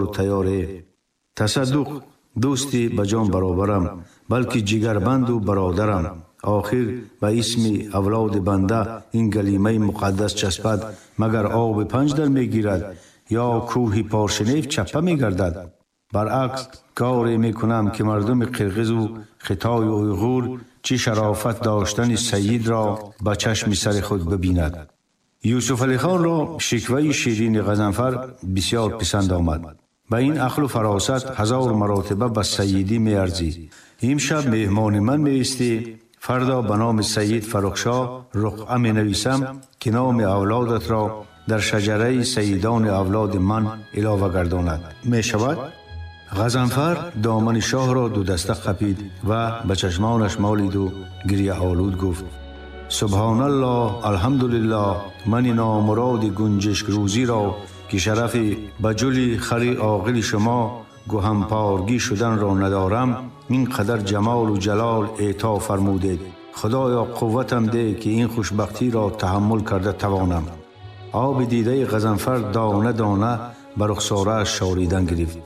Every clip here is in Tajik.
ҳушёру тайёре. Тасаддуқ, дӯсти ба ҷон баробарам, балки ҷигарбанду бародарам. Охир ба исми авлоди банда ин галимаи муқаддас часпад, магар оби панҷ дар мегирад ё кӯҳи Поршенев чаппа мегардад? Баръакс, коре мекунам, ки мардуми қирғизу хитою уйғур чӣ шарофат доштани сайидро ба чашми сари худ бибинад. Юсуфалихонро шикваи ширини Ғазанфар бисёр писанд омад. Ба ин ақлу фаросат ҳазор маротиба ба сайидӣ меарзӣ. Имшаб меҳмони ман меистӣ, фардо ба номи сайид Фаррухшоҳ руқъа менависам, ки номи авлодатро дар шаҷараи сайидони авлоди ман илова гардонад. Мешавад? Ғазанфар домани шоҳро дудаста қапид ва ба чашмонаш молиду гирьяолуд гуфт: Субҳоналлоҳ, алҳамдулиллоҳ, мани номуроди гунҷишкрӯзиро, ки шарафи ба ҷули хари оғили шумо гуҳампоргӣ шуданро надорам, ин қадар ҷамолу ҷалол эъто фармудед. Худоё, қувватам деҳ, ки ин хушбахтиро таҳаммул карда тавонам. Оби дидаи Ғазанфар дона дона ба рухсорааш шоридан гирифт.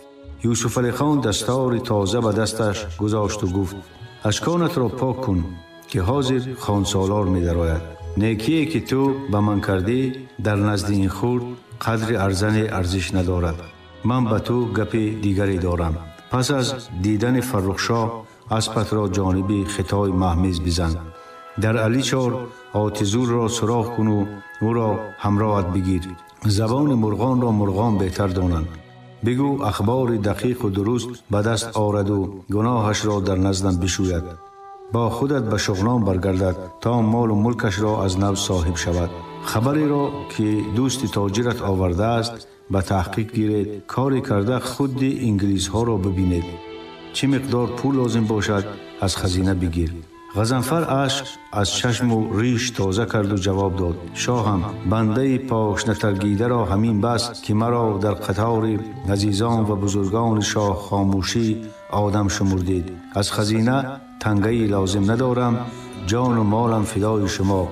Юсуфалихон дастори тоза ба дасташ гузошту гуфт: Ашконатро пок кун, ки ҳозир хонсолор медарояд. Некие ки ту ба ман кардӣ, дар назди ин хурд қадри арзане арзиш надорад. Ман ба ту гапи дигаре дорам. Пас аз дидани Фаррухшоҳ аспатро ҷониби хитои маҳмез бизан. Дар Аличор Отизурро суроғ куну ӯро ҳамроҳат бигир. Забони мурғонро мурғон беҳтар донанд. Бигӯ ахбори дақиқу дуруст ба даст ораду гуноҳашро дар наздам бишӯяд. Бо худат ба Шуғнон баргардад, то молу мулкашро аз нав соҳиб шавад. Хабареро, ки дӯсти тоҷират овардааст, ба таҳқиқ гиред, коре карда худди инглизҳоро бибинед. Чӣ миқдор пул лозим бошад, аз хазина бигир. Ғазанфар ашк аз чашму риш тоза карду ҷавоб дод: Шоҳам, бандаи пошнатаргидаро ҳамин бас, ки маро дар қатори азизон ва бузургони шоҳ хомӯшӣ одам шумурдед. Аз хазина тангаи лозим надорам, ҷону молам фидои шумо.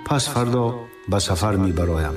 Пас фардо ба сафар мебароям.